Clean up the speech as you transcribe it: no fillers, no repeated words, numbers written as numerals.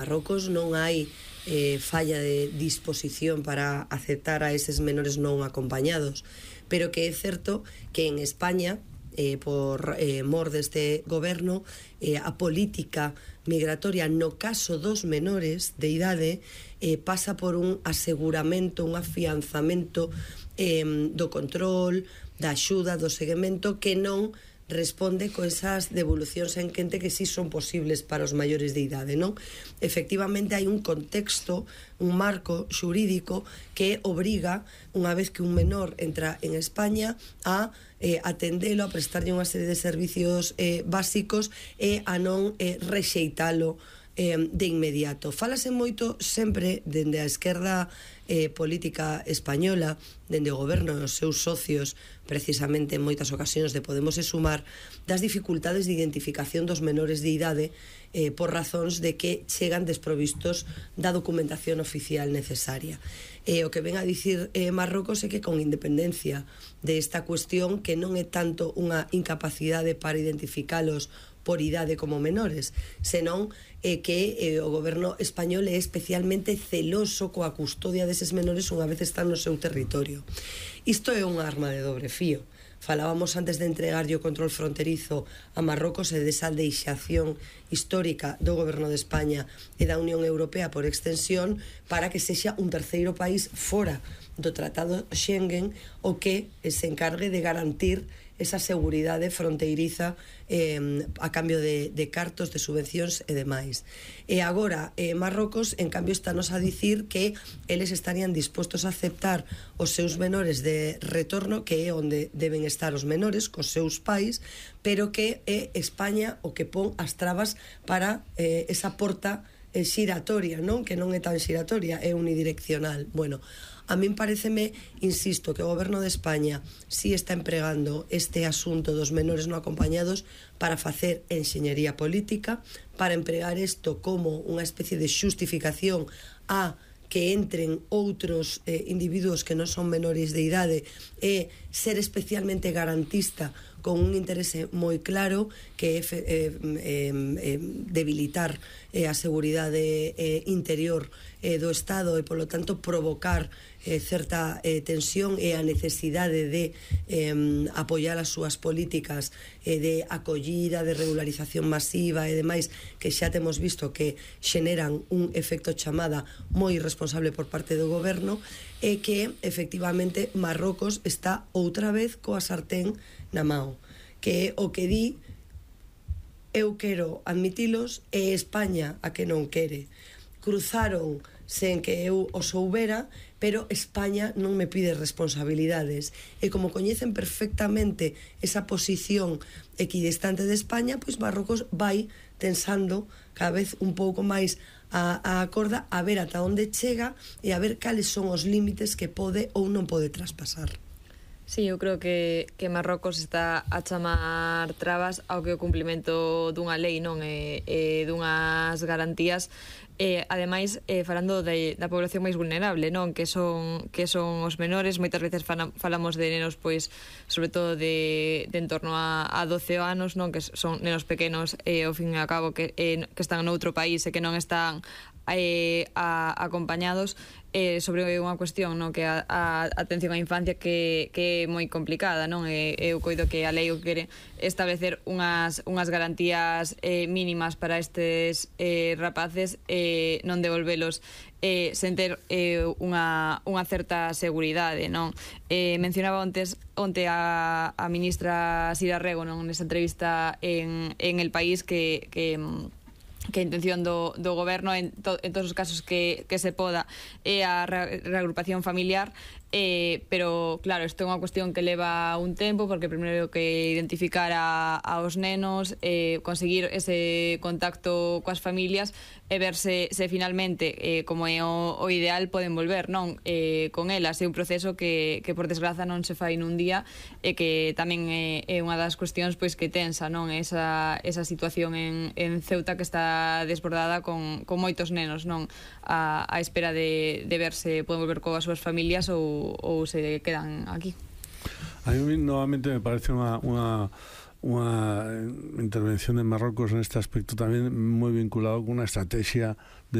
Marrocos non hai falla de disposición para aceptar a eses menores non acompañados, pero que é certo que en España, por mor deste goberno, a política migratoria no caso dos menores de idade pasa por un aseguramento, un afianzamento do control, da axuda, do seguimento, que non responde con esas devolucións en quente que sí son posibles para os maiores de idade, non? Efectivamente, hai un contexto, un marco xurídico que obriga, unha vez que un menor entra en España, a atendelo, a prestarlle unha serie de servicios básicos e a non rexeitalo de inmediato. Fálase moito sempre dende a esquerda política española, dende o goberno e os seus socios, precisamente en moitas ocasións de Podemos e Sumar, das dificultades de identificación dos menores de idade por razóns de que chegan desprovistos da documentación oficial necesaria. O que ven a dicir Marrocos é que con independencia desta cuestión, que non é tanto unha incapacidade para identificalos por idade como menores, senón que o goberno español é especialmente celoso coa custodia deses menores unha vez están no seu territorio. Isto é unha arma de dobre fío. Falábamos antes de entregarlle o control fronterizo a Marrocos e desa deixación histórica do goberno de España e da Unión Europea por extensión para que sexa un terceiro país fora do Tratado Schengen o que se encargue de garantir esa seguridade fronteiriza a cambio de cartos, de subvencións e demais. E agora, Marrocos, en cambio, estános a dicir que eles estarían dispostos a aceptar os seus menores de retorno, que é onde deben estar os menores, cos seus pais, pero que é España o que pon as trabas para esa porta xiratoria, non? Que non é tan xiratoria, é unidireccional. Bueno, a min pareceme, insisto, que o goberno de España si está empregando este asunto dos menores non acompañados para facer enxeñería política, para empregar isto como unha especie de xustificación a que entren outros individuos que non son menores de idade e ser especialmente garantista con un interese moi claro que é debilitar a seguridade interior do Estado e, polo tanto, provocar certa tensión e a necesidade de apoiar as súas políticas de acollida, de regularización masiva e demais, que xa temos visto que xeneran un efecto chamada moi irresponsable por parte do goberno, e que efectivamente Marrocos está outra vez coa sartén na mao, que o que di eu quero admitilos e España a que non quere. Cruzaron sen que eu o soubera, pero España non me pide responsabilidades, e como coñecen perfectamente esa posición equidistante de España, pois Marrocos vai tensando cada vez un pouco máis a corda, a ver ata onde chega e a ver cales son os límites que pode ou non pode traspasar. Sí, eu creo que Marrocos está a chamar trabas ao que o cumplimento dunha lei, non, e dunhas garantías. Ademais, falando da población máis vulnerable, non, que son os menores. Moitas veces falamos de nenos, pois, sobre todo de en torno a 12 anos, non, que son nenos pequenos, ao fin e ao cabo, que están noutro país e que non están acompañados, sobre unha cuestión, non, que a atención á infancia que é moi complicada, non? Eu coido que a lei o quere establecer unhas garantías mínimas para estes rapaces, non devolvelos sen ter unha certa seguridade, non? Mencionaba onte a ministra Sira Rego, non, nesa entrevista en El País, que a intención do goberno en todos os casos que se poda é a reagrupación familiar, pero claro, isto é unha cuestión que leva un tempo, porque primeiro que identificar aos nenos, conseguir ese contacto coas familias e ver se finalmente, como é o ideal, poden volver, non, con elas. É un proceso que por desgraza non se fai nun día, e que tamén é unha das cuestións, pois, que tensa, non, esa situación en Ceuta, que está desbordada con moitos nenos, non, a espera de ver se poden volver coas súas familias ou se quedan aquí. A mí novamente me parece unha intervención de Marrocos en este aspecto tamén moi vinculado con unha estrategia